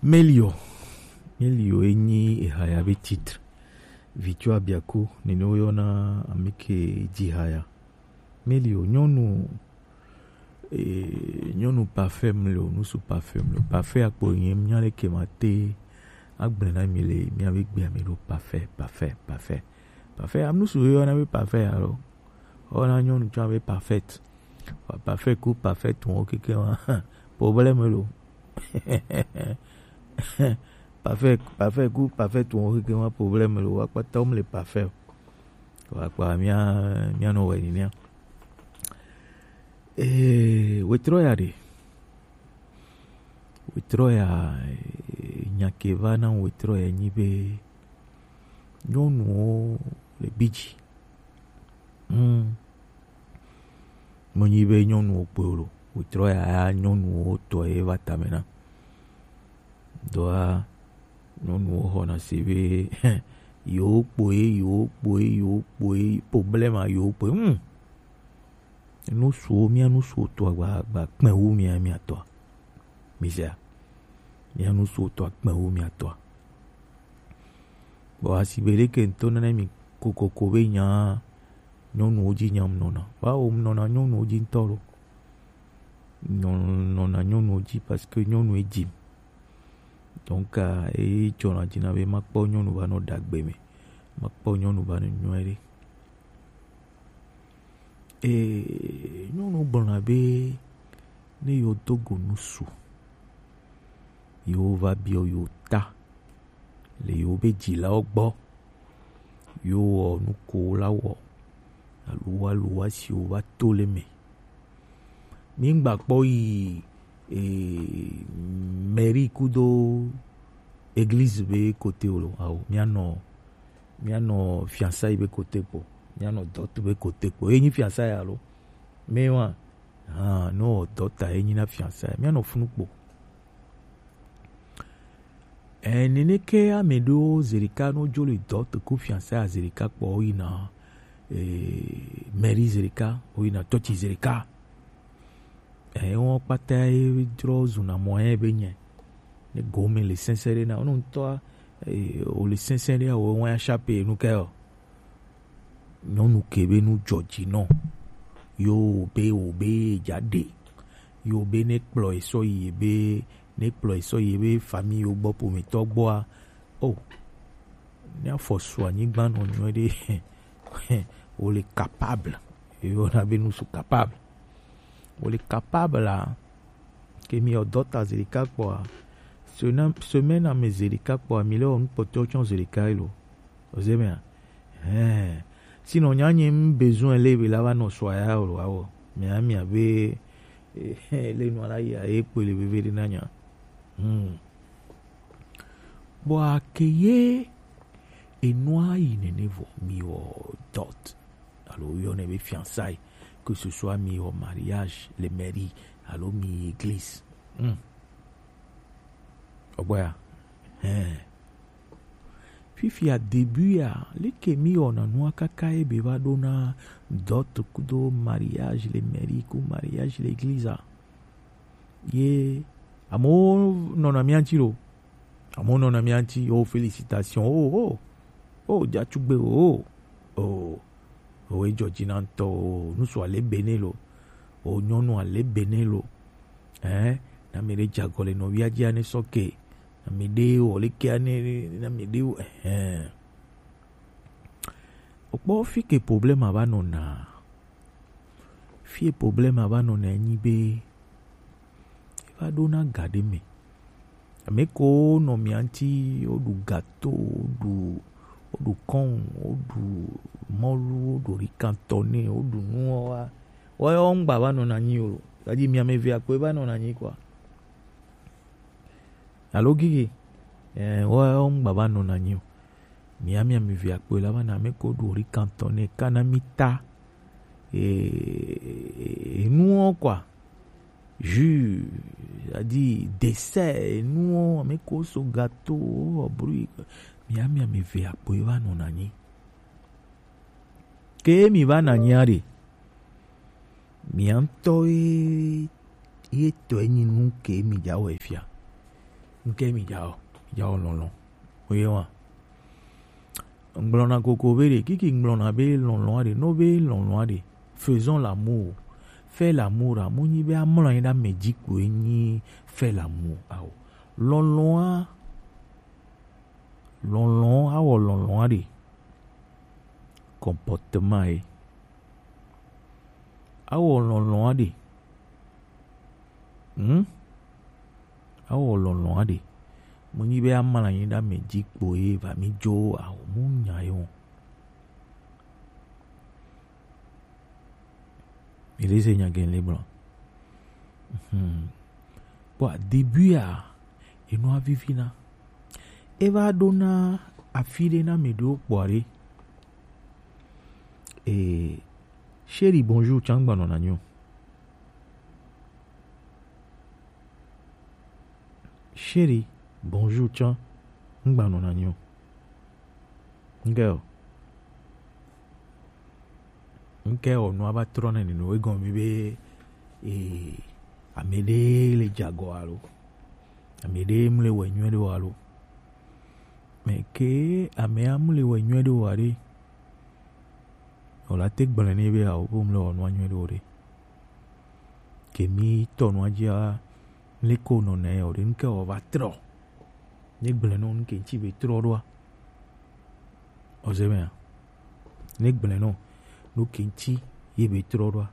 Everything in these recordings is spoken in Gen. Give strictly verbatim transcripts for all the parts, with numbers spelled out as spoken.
Melio. Melio enyi ehaya be titre. Vitso abiaku nene woyɔna amike ji haya. Melio nyɔnu e, nyɔnu parfait mleo, nusu parfait mleo. Parfait akpo nye mía leke ma te agblẽ na mi le mía be gbea mi ɖo parfait, parfait, parfait. Parfait, am nusu woyɔna be parfait alo. Woyɔna nyɔnu tsã be parfaite. Wa parfait ku parfait tun wo keke wa. Problème lo. Parfait, parfait ku parfait tun wo keke wa problème lo. Wa kpata wo mle parfait. Wa kpa mía, mía nɔ wɛ ni mía. Eh, wetrɔ ya ɖe. Wetrɔ ya, eh, nya ke va na wetrɔ ya nyi be nyɔnuwo le bi dzi. Hmm. Menyi be nyɔnuwo kpoe o lo. Wetrɔ ya, ya nyɔnuwo tɔ ye va tame na. Dɔa, nyɔnuwo xɔna se be yewo kpoe, yewo kpoe, yewo kpoe, problème yewo kpoe. Hmm. Nusuwo, mía nusuwo tɔa gba, gba kpɛ wu mía, mía tɔa. Mizea. Mía nusuwo tɔa kpɛ wu mía tɔa. Bon, asigbe ɖeke ŋutɔ nana mi kokoko be nya nyɔnuwo dzi nyam nɔna. Bawo nɔna nyɔnuwo dzi ŋutɔ lo. Nyɔ-, nɔna nyɔnuwo dzi parce que nyɔnu e dzim. Donc, ah, e dzɔna dzi na be makpɔ nyɔnu va nɔ ɖagbe me. Makpɔ nyɔnu va nɔ nyɔe ɖe. Ee, nyɔnu gblɔna be ne yewo do go nusu, yewo va biɔ yewo ta le yewo be dzilawo gbɔ, yewo wɔ nu ko wo la wɔ, alo wa lo wa si wo va to le me. Mi ŋgba kpɔ yi, ee, mairie kudo église be côté o lo, awo, mía nɔ mía nɔ fiançailles be côté kpo, mía nɔ dot be côté kpo. Ye nyi fiançailles alo? Mais wa, ah, no dot a ye nyi na fiançailles. Mía nɔ funu kpo. Eh, nene ke ame ɖewo zerika no dzo le dot ko fiançailles a zerika kpo o yina, eh, mairie zerika, o yina tɔtsi zerika. Eh, wo kpata ye drɔ zuna mɔ ye be nye. Ne gome le sɛnsɛn ɖe na, wo ŋutɔ, eh, o le sɛnsɛn ɖe, wo ŋua ya chape nu ke o. Nyɔnu ke be nu dzɔ dzi nɔ. Yo be wo be dza ɖe. Yo be ne kplɔ esɔ yi be, ne kplɔ esɔ yi be famille yo gbɔ pometɔ gbɔa. O. Ne afɔ su anyigba nɔ nyuie ɖe. Wo le capable. Yo na be nu su capable. Wo le capable la. Ke mi o dot a zerika kpɔa. Sena-, semaine a me zerika kpɔa, mi le o nu kpɔtɔ tsɔ zerika lo. Oze mea? Hein. Sinon, nya nye m besoin le be la va nɔ sɔ ya o lo, awo. Mia, mia be, le nua la ya, e kpe le veve ɖe na nya. Hmm. Bon, ake ye, enua yi nene vɔ, mi wɔ dot. Alo, yɔ ne be fiançailles, que ce soit mi wɔ mariage, le mairie, alo mi église. Hmm. Ogbɔya. Hein. Fifia début ya, leke mi wɔna nua kaka ye be va ɖo na dot kudo mariage le mairie ku mariage le église a. Ye, amewo nɔna mía ŋuti lo. Amewo nɔna mía ŋuti, oh, félicitations, oh, oh, oh, dzatsugbe, oh, oh, oh, edzɔ dzi na ŋutɔ, oh, nusu ale bene lo, oh, nyɔnu ale bene lo. Hein, na mi ɖe dze agɔ le nɔvia dzi ane sɔ ke. Na mi ɖe wɔ leke ane, na mi ɖe wɔ, hein. Okpɔ fi ke problème a va nɔna. Fi problème a va nɔna nyi be, e va ɖo na ga ɖe me. Ame ko nɔ mia ŋuti, woɖu gâteau, woɖu, woɖu kɔn, woɖu mɔlu, woɖu ricantoné, woɖu nuwo wa. Woawo ŋgba va nɔna anyi o. C'est-à-dire, mia ame evea kpoe va nɔna anyi quoi. Alo gigi. Eh, woawo ŋgba va nɔna anyi o. Mia, mia ame evea kpoe la va na ame ko ɖu ricantoné kana mi ta. Eh, enuwo quoi. Jus, c'est-à-dire dessert, enuwo, ame ko so gâteau, wo bruit. Mia, mia ame evea kpoe va nɔna anyi. Ke mi va na anyi a ɖe. Mia ŋutɔ ye, ye tɔe nyi nu ke mi dza wɔ fia. Nke mi ja o, ja o lɔlɔn. Oye wa. Ŋgblɔna koko be ɖe, kiki ŋgblɔna be lɔlɔn aɖe, no be lɔlɔn aɖe. Faisons l'amour. Fais l'amour, a, mu nyi be amlɔ anyi ɖe ame dzi kpoe nyi fais l'amour. Ao. Lɔlɔn a, lɔlɔn, awɔ lɔlɔn aɖe. Comportement ye. Awɔ lɔlɔn aɖe. Hmm? Awɔ lɔlɔn aɖe. Mu nyi be amlɔ anyi ɖe ame dzi kpoe va mi dzo ao mu nya ye o. Mi le se nya gɛn le gblɔ. Hmm. Kpɔ début a, enua vivi na. E va ɖo na afi ɖe na mi ɖo kpɔ ɖe. Eh, chérie, bonjour, tsã ŋgba nɔna nyo. Chérie, bonjour, tsã ŋgba nɔna nyo. Ŋkɛ o. Ŋkɛ o, nua va trɔ na ninu, egɔme be, eh, ame ɖe le dze agɔ alo. Ame ɖe mle wɔ nyuie ɖe o alo. Mais ke amea mle wɔ nyuie ɖe o aɖe, o la te gblɔe nɛ be ao, wo mle wɔ nua nyuie ɖe o ɖe. Ke mi tɔ nua dzia, mle ko nɔ nɛ o ɖe, ŋkɛ o va trɔ. Ne gblɔe nɔ ŋkɛ ŋtsi be trɔ ɖoa. Ɔze mea. Ne gblɔe nɔ, nu ke ŋtsi ye be trɔ ɖoa.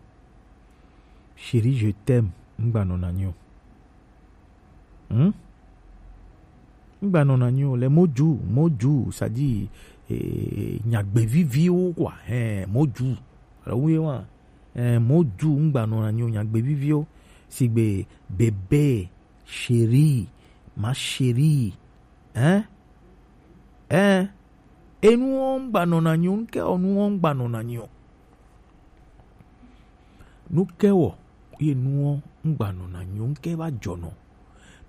Chérie, je t'aime, ŋgba nɔna nyo. Hmm? Ŋgba nɔna nyo, le moju, moju, c'est-à-dire, eh, nyagbe viviwo, quoi. Eh, moju. Alors, oui, wa. Eh, moju, ŋgba nɔna nyo, nyagbe viviwo. Sigbe bébé, chérie, ma chérie. Hein? Hein? Enuwo ŋgba nɔna nyo, ŋkɛ o nuwo ŋgba nɔna nyo. Nukɛ wɔ ye nuwo ŋgba nɔna nyo, ŋkɛ va jɔnɔ.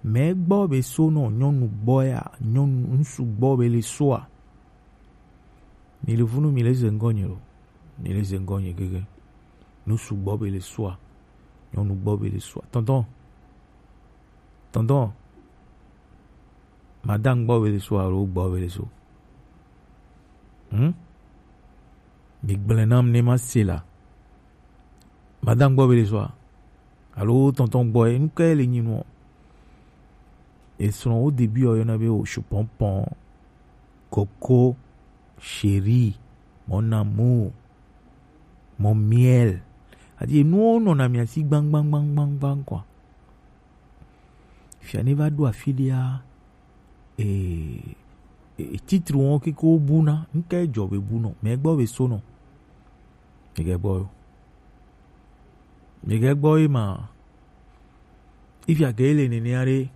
Mɛ gbɔ be so nɔ nyɔnu gbɔ ya, nyɔnu ŋsu gbɔ be le soa. Mi le vunu mi le ze ŋgɔ nye lo. Mi le ze ŋgɔ nye gege. Ŋsu gbɔ be le soa. Nyɔnu gbɔ be le soa. Tonton. Tonton. Madame gbɔ be le so alo gbɔ be le so. Hmm? Mi gblẽ nam ne ma se la. Madame gbɔ be le so a? Alo tonton gbɔ e, ŋkɛ le nyi nɔ. Esrɔ̃ wo début o yɔna be o chou pompon, coco, chéri, mon amour, mon miel. Adi nuwo nɔna mia si gbangbangbangban quoi. Fia ne va ɖo afi ɖea, e, e, titre wɔn keke wo bu na, ŋkɛ dzɔ be bu nɔ, mɛ gbɔ be so nɔ. Mi gɛ gbɔ yo. Mi gɛ gbɔ yi ma. Ifia ke le nene aɖe,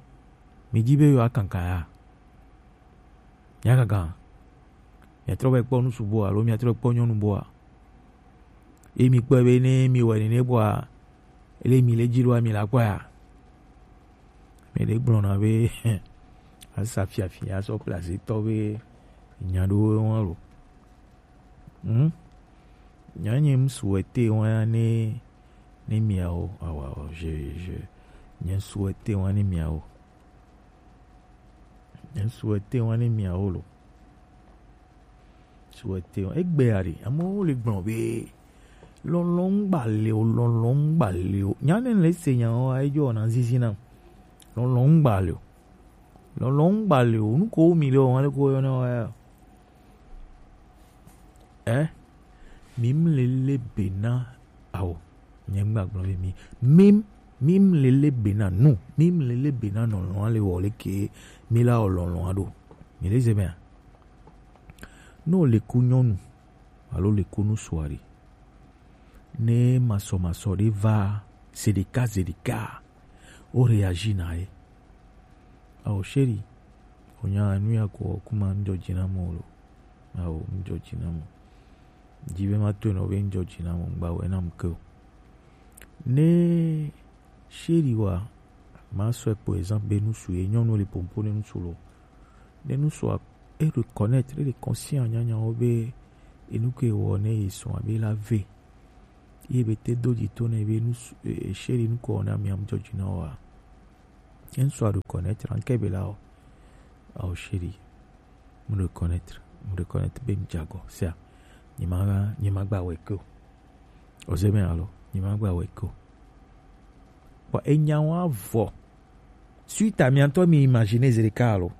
mi dzi be yo akankan ya. Mia kankan. Mia trɔ va kpɔ nusu boa, alo mia trɔ kpɔ nyɔnu boa. Ye mi kpɔe be ne mi wɔ nene boa, ele mi le dzi ɖoa, mi la kpɔe a? Mi ɖe gblɔna be, asa fiafi, asɔ place tɔ be, nya ɖo wɔn lo. Hmm? Nya nye m souhaiter wɔn ya ne, ne miawo, awa, je, je, nye souhaiter wɔn ne miawo. Nye souhaiter wɔn ne miawo lo. Souhaiter wɔn. Egbe ya ɖe, amewo le gblɔ be, lɔlɔn ŋgba le o, lɔlɔn ŋgba le o. Nya ne le se nya wa, edzo na zizi na. Lɔlɔn ŋgba le o. Lɔlɔn ŋgba le o. Nu ko mi le o, ale ko yɔ na wa ya. Eh? Mim lele bena ao. Nye ŋgba gblɔ be mi. Mim, mim lele bena nu. Mim lele bena nɔlɔn ale wɔ le ke mi la o lɔlɔn aɖo. Mi le ze mea? Ne wòle ku nyɔnu alo le ku ŋutsua ɖe, ne masɔmasɔ ɖe va zeɖeka zeɖeka, wo réagir na ye. Ao chéri, wònya nu ya ko kuma ŋdzɔ dzi na mo lo. Ao ŋdzɔ dzi na mo. Dzi be ma to nɔ be ŋdzɔ dzi na mo, ŋgba wɛ na mu ke o. Ne chéri wa, ma sɔe kpo exemple be ŋutsu ye nyɔnu le pompo ne ŋutsu lo. Ne ŋutsua e reconnaître, e le conscient nyanyawo be enu ke wɔ ne ye srɔ̃a be la ve. Ye be te do dzi to ne be ŋutsu, e, e, chéri nu ko wɔ na mi am dzɔdzi na wa. Ŋsua reconnaître, anke be la o. Ao chéri. Mu reconnaître, mu reconnaître be ŋjago. Sia. Nyima, nyima gba weke o. Oze me alo, nyima gba weke o. Bon, enya wa vɔ. Suite à miantɔ mi imaginer zereka alo.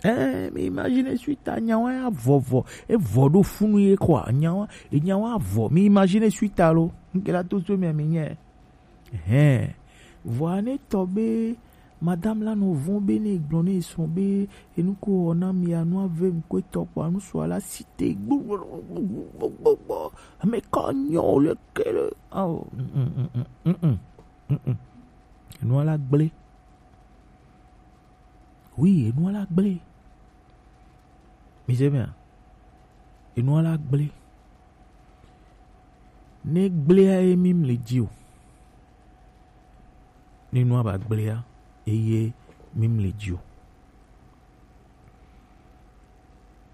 Eh, mi imaginer suite à nya wa ya vɔ vɔ. E vɔ ɖo funu ye quoi. Nya wa, enya wa vɔ. Mi imaginer suite alo. Nke la to so mi ami nye. Hɛn. Vɔa ne tɔ be madame la nɔ vɔn be ne gblɔ ne srɔ̃ be enu ko wɔ na mi anu ave ŋkɔ etɔ kpɔ anu sɔ ala site gbogbogbogbo ame ka nyɔ o le kele awo. Enu ala gblẽ. Oui, enu ala gblẽ. Mi se mea? Enu ala gblẽ. Ne gblẽa ye mi mli dzi o. Ne nua ba gblẽa eye mi mli dzi o.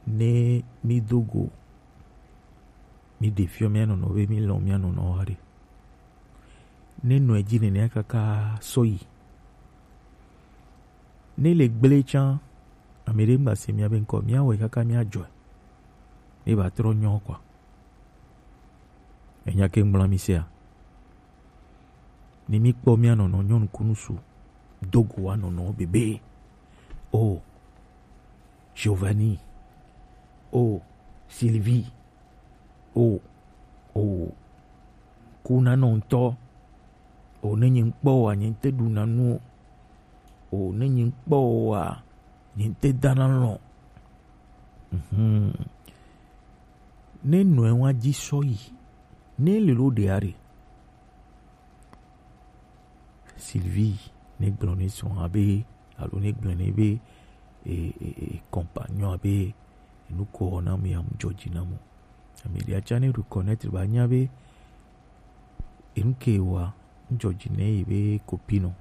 Ne mi do go, mi ɖe fiɔ mia nɔnɔ be mi lɔn mia nɔnɔ wa ɖe. Ne nɔ edzi nenea kaka sɔ yi. Ne le gblẽ tsã, ame ɖe ŋgba se mia be ŋkɔ, mia wɔe kaka mia dzɔe. Ne ba trɔ nyɔ kɔa. Enya ke ŋgblã mi sea? Ni mi kpɔ mia nɔnɔ nyɔnu kunu su do go wa nɔnɔ bebe. O Giovanni. O Sylvie. O, o, kuna nɔ ŋutɔ. O ne nyi ŋkpɔ wa nyi te ɖuna nu o. O ne nyi ŋkpɔ wa nyi te dana lɔ. Mhm. Ne nɔe wa dzi sɔ yi. Ne le lo ɖe are. Sylvie ne gblɔ ne srɔ̃a be alo ne gblɔ ne be e, e, e, compagnon be enu ko wɔ na mi am dzɔ dzi na mo. Ame ɖe atsa ne reconnaître ba nya be enu ke wa ŋdzɔ dzi ne yi be copine o.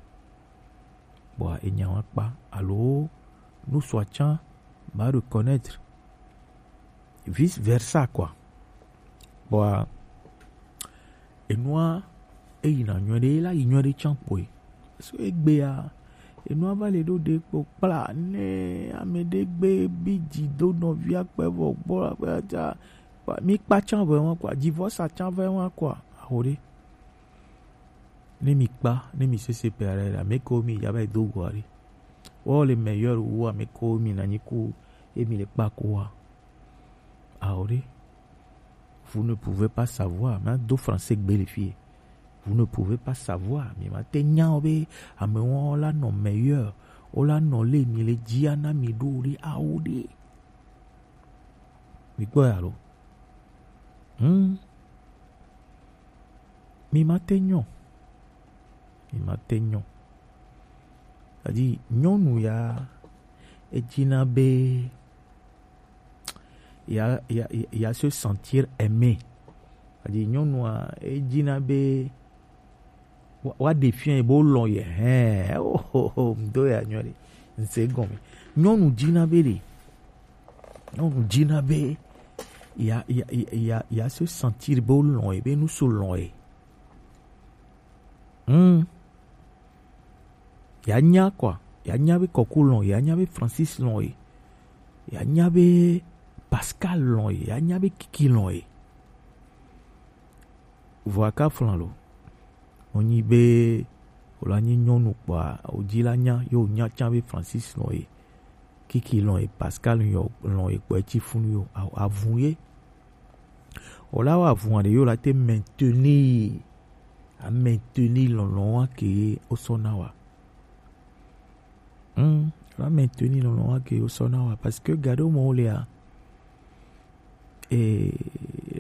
Bɔa enya wa kpa alo nu sɔ atsa ba reconnaître vice versa quoi. Bɔa enua eyina nyuie ɖe la yi nyuie ɖe tsã kpɔe. So egbea enua va le ɖo ɖe kpo kpla ne ame ɖe gbe bi dzi do nɔvia kpe vɔ gbɔ la kpe ta mi kpa tsã vɛ wa kwa divorce tsã vɛ wa kwa aho ɖe. Ne mi kpa ne mi sese pe aɖe ame ko mi ya va do go aɖe. Wo le meilleur wu ame ko mi na nyi ku emi le kpa ko wa. Aho ɖe. Vous ne pouvez pas savoir. Ma do français gbe le fie. Vous ne pouvez pas savoir. Mi ma te nya o be ame wo la nɔ meilleur. Wo la nɔ le mi le dzia na mi ɖo ɖe aho ɖe. Mi kpɔ ya lo. Hmm. Mi ma te nyɔ. Mi ma te nyɔ. Adi nyɔnu ya edzina be ya, ya, ya, ya se sentir aimé. Adi nyɔnua edzina be wa, wa ɖe fia bo lɔn ye hɛn o o o ŋdo ya nyɔ ɖe ŋse gɔme. Nyɔnu dzina be ɖe nyɔnu dzina be ya, ya, ya, ya, ya se sentir be wo lɔn ye be nusu lɔn ye. Hmm. Ya nya quoi. Ya nya be kɔku lɔn ye. Ya nya be Francis lɔn ye. Ya nya be Pascal lɔn ye. Ya nya be Kiki lɔn ye. Vɔa ka flan lo. Wonyi be wòla nyi nyɔnu kpɔa wòdzi la nya ye wònya tsã be Francis lɔn ye. Kiki lɔn ye Pascal lɔn ye kpɔ etsi funu yo avun ye. Wòla wɔ avun aɖe ye wòla te maintenir a maintenir lɔlɔn wa ke ye wosɔ na wa. Hmm, la maintenir lɔlɔn wa ke ye wosɔ na wa parce que gaɖo mɔ wo lea. Ee,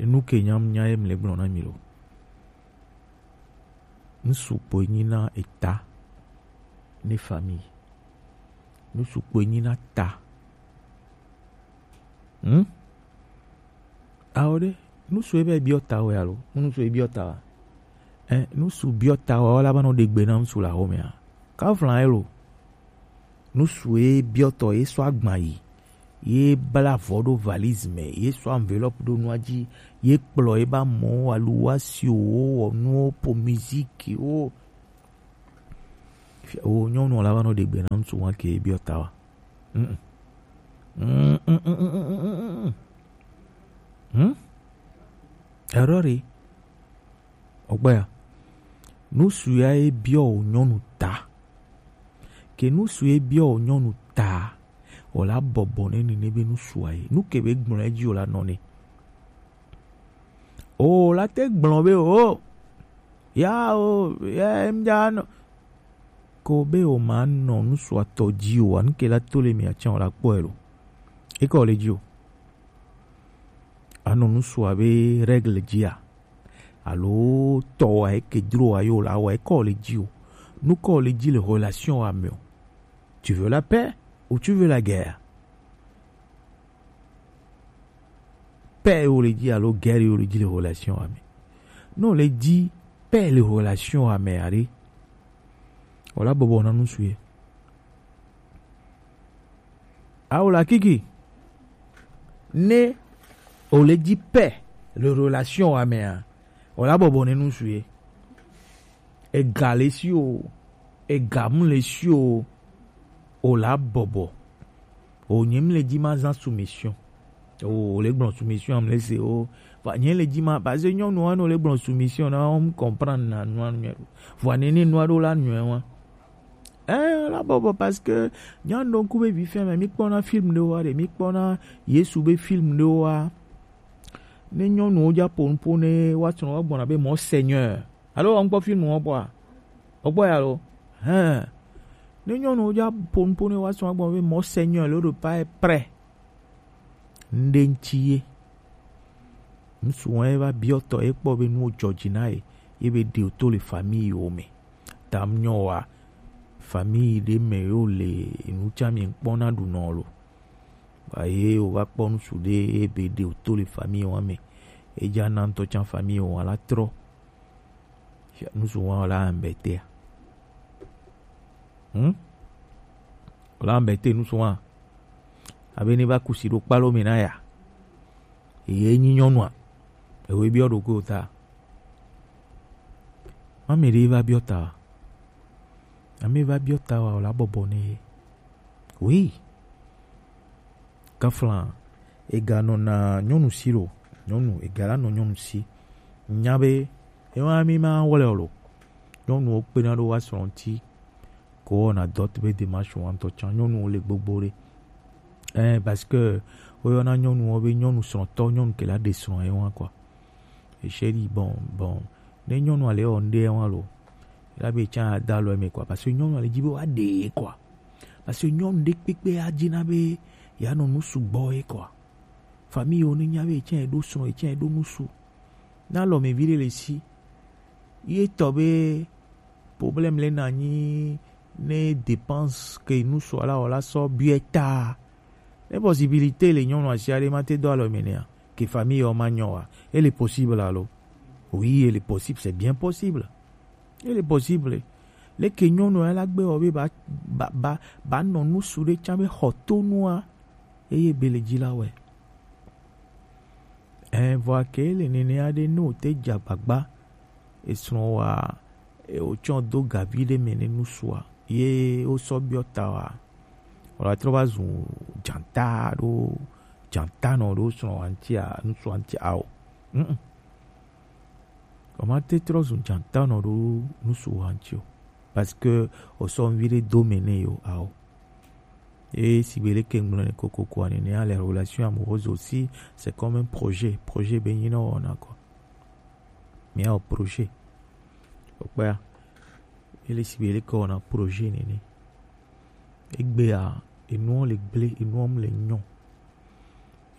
nu ke nyam nya ye mle gblɔ na mi lo. Ŋsu kpoe nyi na eta ne famille. Ŋsu kpoe nyi na ta. Hmm? Awo ɖe, ŋsu ebe biɔ ta wo ya lo? Ŋsu e biɔ ta wa? Eh, ŋsu biɔ ta wa wala ba nɔ ɖe gbe na ŋsu la xɔmea. Ka flan elo. Ŋsu e biɔ tɔ ye sɔ agban yi. Ye bla avɔ ɖo valise me, ye sɔ enveloppe ɖo nua dzi, ye kplɔ ye ba mɔ alu wa si wo wɔ nuwo po musique wo. Fia-, wo nyɔnu la va nɔ ɖe gbe na ŋutsu wa ke biɔ ta wa. Mm-mm. Mm-mm. Mm-mm. Hmm? Erreur ye. Ogbea. Nusu ya e biɔ wo nyɔnu ta. Ke nusu ye biɔ wo nyɔnu ta. O la bɔbɔ ne ni ne be nusu aye. Nu ke be gblɔ edzi o la nɔ ne. O la te gblɔ be o. Ya o, ya em ja nɔ. Ko be o ma nɔ nusu atɔ dzi o, anu ke la to le mi atsa o la kpɔ elo. E ko le dzi o. Anɔ nusu abe règle dzi a. Alo tɔ wa e ke dro wa yo la wa e ko le dzi o. Nu ko le dzi le relation wa me o. Tu veux la paix ou tu veux la guerre? Paix ye wo le dzi alo guerre ye wo le dzi le relation wa me? Ne wo le dzi paix le relation wa me aɖe, o la bɔbɔ na nusu ye. Awo la kiki. Ne wo le dzi paix le relation wa mea, o la bɔbɔ ne nusu ye. Ega le si o, ega mu le si o, o la bɔbɔ. O nye mi le dzi ma zan soumission. O le gblɔ soumission am le se o. Va nye le dzi ma, parce que nyɔnu wa no le gblɔ soumission na o comprendre na nua nyuie. Vɔ ne ne nua ɖo la nyuie wa. Eh, la bɔbɔ parce que nya no ku be vi fɛn me mi kpɔna film ɖe wa ɖe, mi kpɔna Yesu be film ɖe wa. Ne nyɔnuwo dza ƒo nuƒo ne woatsrɔ̃ woagbɔna be Monseigneur. Alo wɔn kpɔ film wɔn kpɔa? Wɔkpɔ ya lo? Hɛn. Ne nyɔnuwo dza ƒo nuƒo ne woatsrɔ̃ woagbɔna be Monseigneur le ɖo pa prêt. Ŋɖe ŋtsi ye. Ŋsu wɔn ye va biɔ tɔ ye kpɔ be nuwo dzɔ dzi na ye, ye be ɖe to le famille wo me. Tam nyɔ wa, famille ɖe me yo le nu tsa mi kpɔna ɖu nɔ lo. Ba ye o va kpɔ ŋsu ɖe ye be ɖe o to le famille wa me. E dza na ŋtɔ tsa famille wa la trɔ. Ŋsu wa la embêté. Hmm? La embêté ŋsu wa. Abe ne va kusi ɖo kpalo me na ya. Ye nyi nyɔnua. Ewe biɔ ɖo ko ta. Mame ɖe va biɔ ta. Ame va biɔ ta wa o la bɔbɔ ne. Oui. Kafla, ega nɔ na nyɔnu si lo, nyɔnu, ega la nɔ nyɔnu si. Nya be, ewa mi ma wɔle o lo. Nyɔnuwo kpena ɖo wa srɔ̃ ŋti, ko wɔna dɔ be démarche wa ŋtɔ tsa, nyɔnuwo le gbogbo ɖe. Eh, parce que, woyɔna nyɔnuwo be nyɔnu srɔ̃tɔ, nyɔnu ke la ɖe srɔ̃ ye wa, quoi. Echeri, bon, bon. Ne nyɔnua le wɔ ŋɖe wa lo, la be tsa ada lo eme, quoi. Parce que nyɔnua le dzi be wa ɖe ye, quoi. Parce que nyɔnu ɖe kpekpe adzi na be ya nɔ nu sugbɔ ye, quoi. Famille wo ne nya be etsɛ ɖo srɔ̃, etsɛ ɖo ŋsu. Na lɔ me vi ɖe le si. Ye tɔ be problème le na nyi ne dépense ke ŋsu la wɔ la sɔ biɛ ta. Ne possibilité le nyɔnu asi aɖe ma te do alɔ me nea, ke famille wo ma nyɔ wa. Elle est possible alo? Oui, elle est possible, c'est bien possible. Ele possible. Leke nyɔnu ya la gbe wɔ be ba, ba, ba, ba nɔ ŋsu ɖe tsa be xɔ to nua, eye be le dzi la wɛ. Ɛ, vɔa ke le nene aɖe ne o te dza gbagba, esrɔ̃ wa, e, o tsɔ do gavi ɖe me ne ŋsua, ye o sɔ biɔ ta wa, o la trɔ va zu dzata ɖo, dzata nɔ ɖo srɔ̃ wa ŋtia, ŋsua ŋtia o. Mm-mm. O ma te trɔ zu dzata nɔ ɖo ŋsu wa ŋti o. Parce que o sɔ ŋvi ɖe do me ne yo, ao. Et si be leke ŋgblɔ ne kokoko ane ne, les relations amoureuses aussi, c'est comme un projet. Projet be nyi na wɔna kɔ. Mi ao projet. O kpea. Ele si be leke wɔna projet nene. Egbea, enuwo le gble, enuwo le nyɔ.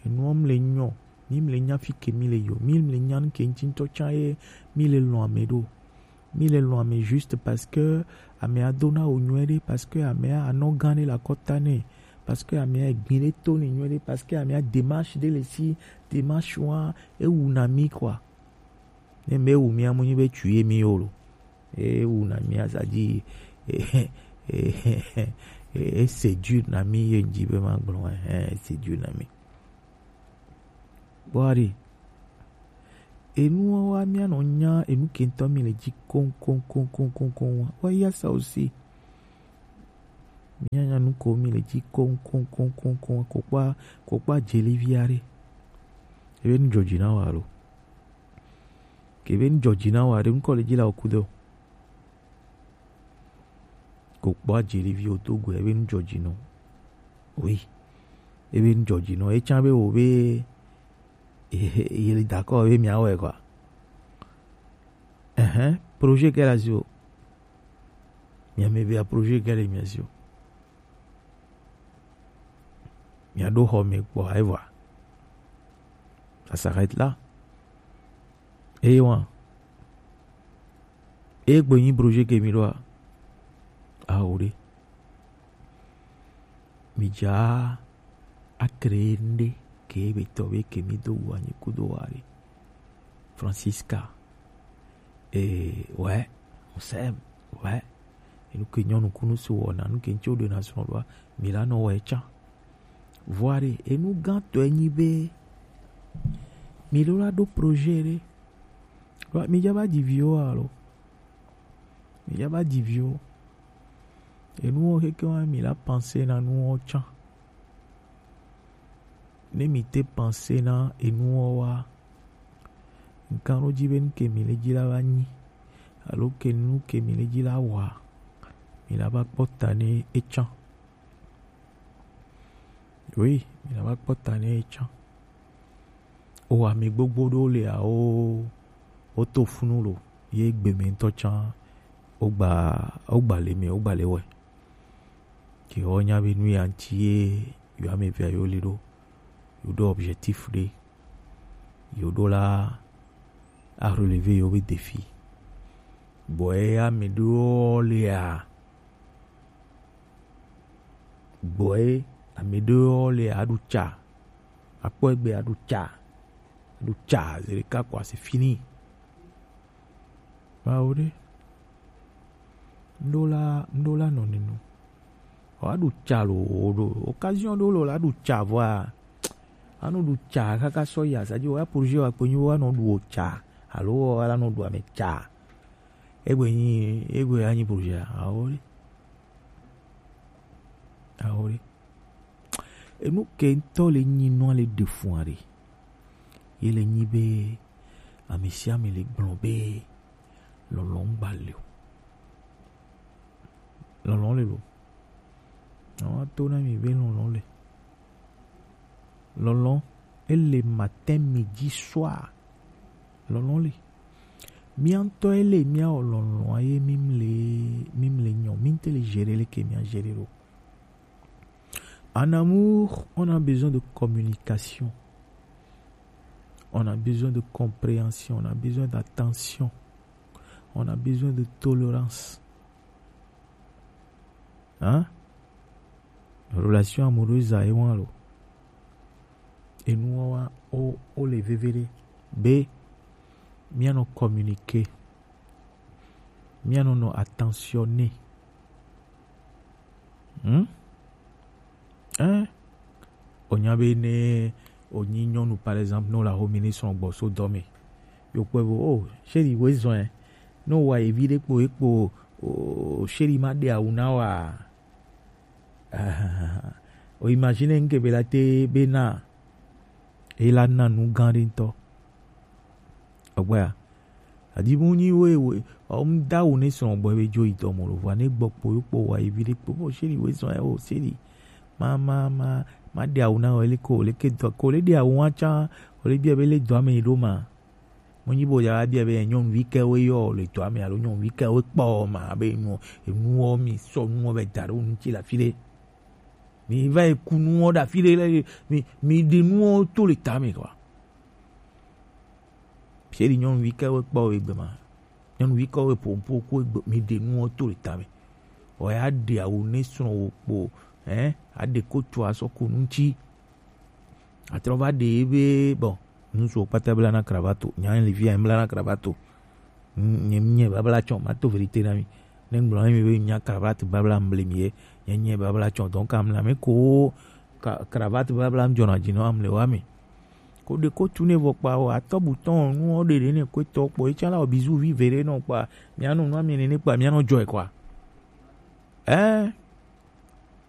Enuwo le nyɔ. Mi le nya fi ke mi le yo. Mi le nya nu ke ŋti ŋtɔ tsa ye mi le lɔn ame ɖo. Mi le lɔn ame juste parce que amea do na o nyuie ɖe, parce que amea anɔ gã ɖe le akɔta nɛ, parce que amea egbi ɖe to nɛ nyuie ɖe, parce que amea démarche ɖe le si, démarche wa ewu na mi, quoi. Ne me wu mi amu nyi be tu ye mi yo lo. E wu na mi azadzi. E, e, e, e séduire na mi ye ŋdzi be ma gblɔ, eh, e séduire na mi. Bɔari. Enuwo wa mi anɔ nya enu ke ŋtɔ mi le dzi koŋ, koŋ, koŋ, koŋ, koŋ, koŋ wa. Wa ya sa aussi. Mía nya nu ko mi le ji koŋ koŋ koŋ koŋ koŋ ko kpa ko kpa jeli via ɖe. Ebe nu jɔji na wa lo. Ke be nu jɔji na wa ɖe nu kɔ le ji la o ku do. Ko kpɔ ajeli vi o to gbe ebe nu jɔji nɔ. Oui. Ebe nu jɔji nɔ. Etsa be wo be ye le dakɔ be mia wɛ quoi. Ɛhɛn, projet kɛ la si o. Mia me be projet kɛ le mia si o. Mia ɖo xɔ me kpɔ ayi vɔa. Ça s'arrête là. Eye wa. Eye gbe nyi projet ke mi ɖoa. Awo ɖe. Mi dza a créer ŋɖe ke be tɔ be ke mi do wu anyi kudo wa ɖe. Francisca. Eh, ouais, on s'aime, ouais. Enu ke nyɔnu kunu so wɔna, nu ke ŋtsi wo ɖe na srɔ̃ ɖoa, mi la nɔ wɔ etsa. Vɔa ɖe, enu gãtɔe nyi be, mi ɖo la ɖo projet ɖe. Ɖoa, mi dza va dzi viwo alo? Mi dza va dzi viwo. Enuwo keke wa mi la penser na nuwo tsã. Ne mi te penser na enuwo wa, ŋkan ɖo dzi be nu ke mi le dzi la va nyi, alo ke nu ke mi le dzi la wa, mi la va kpɔ ta ne etsã. Oui, mi la va kpɔ ta ne etsã. O ame gbogbo ɖewo le awo, wo to funu lo, ye gbe me ŋutɔ tsã, wo gba, wo gba le me, wo gba le wɛ. Ke wo nya be nu ya ŋuti ye yo ame evea yo li ɖo, yo ɖo objectif ɖe, yo ɖo la a relever yo be défi. Bɔ ye ame ɖewo le a, gbɔ ye ame ɖewo le a ɖu tsa, akpɔ egbe a ɖu tsa, a ɖu tsa, zeɖeka kɔ c'est fini. Mawu ɖe. Ŋɖo la, ŋɖo la nɔ ninu. Wa ɖu tsa lo, wo ɖo occasion ɖo lo la ɖu tsa vɔa. Anu ɖu tsa kaka sɔ ya, sa dzi wa projet wa kpe nyi wa nɔ ɖu o tsa. Alo wa la nɔ ɖu ame tsa. Egbe nyi, egbe anyi projet. Awo ɖe. Awo ɖe. Enu ke ŋutɔ le nyi nua le ɖe fua ɖe. Ye le nyi be ame sia ame le gblɔ be lɔlɔ̃ ŋgba le o. Lɔlɔ̃ le lo. Awa to na mi be lɔlɔ̃ le. Lɔlɔ̃ ele matin, midi, soir. Lɔlɔ̃ le. Mía ŋutɔ ele mía wɔ lɔlɔ̃a ye mi le, mi le nyɔ, mi ŋutɔ le gérer leke mía gérer ɖo. En amour, on a besoin de communication. On a besoin de compréhension. On a besoin d'attention. On a besoin de tolérance. Hein? Relation amoureuse a ewan lo. Enu wa o, o le vevere. Be, mía nɔ communiquer. Mía nɔ nɔ attentionner. Hmm? Hein? O nya be ne o nyi nyɔnu, par exemple, no la ho mi ni srɔ̃ gbɔ so dɔ me. Yo kpɔe bo, oh, chéri, wo zɔn, eh. No wa evi ɖe kpo, ekpo, oh, chéri, ma ɖe awu na wa. O imagine ŋke be la te be na. E la na nu gã ɖe ŋutɔ. Egbea, adibu nyi we, we, ɔm da wo ne srɔ̃ gbɔ be dzo yi dɔ mo lo, vɔa ne gbɔ kpo yo kpo wa yi vi ɖe kpo, bo seri we srɔ̃ ya, o seri. Ma, ma, ma, ma ɖe awu na o, ele ko, le ke dɔ, ko le ɖe awu wa tsã, o le bia be le dɔ ame yi ɖo ma. Mo nyi bo ya bia be nyɔnuvi ke we yɔ le dɔ ame alo nyɔnuvi ke we kpɔ ma be nu, enuwo mi sɔ nuwo be da ɖe wo ŋuti le afi ɖe. Mi va yi ku nuwo ɖe afi ɖe le, mi, mi ɖe nuwo to le tame kɔ. Chéri, nyɔnuvi ke we kpɔ wo egbe ma. Nyɔnuvi ke we ƒo ŋƒo ku egbe, mi ɖe nuwo to le tame. Wɔ ya ɖe awu ne srɔ̃ wo kpo, hein, aɖe kotu asɔ ku nu ŋuti. Atrɔ va ɖe be, bon, ŋutsuwo kpata bla na cravate. Nya le fi ya bla na cravate. Nye, nye babla tsɔ, ma to vérité na mi. Ne ŋgblɔ na mi be nya cravate babla mble mi ye, nye, nye babla tsɔ. Donc, amla me ko ka-, cravate babla ŋdzɔna dzi nɔ amle wa me. Ko ɖe ko tu ne vɔ kpa o, atɔ butɔn nu o ɖe ɖe ne ko tɔ kpɔ, etsã la o bizu vi ve ɖe nɔ kpa, mia nɔ nu ami ne ne kpa, mia nɔ jɔe kpa. Eh,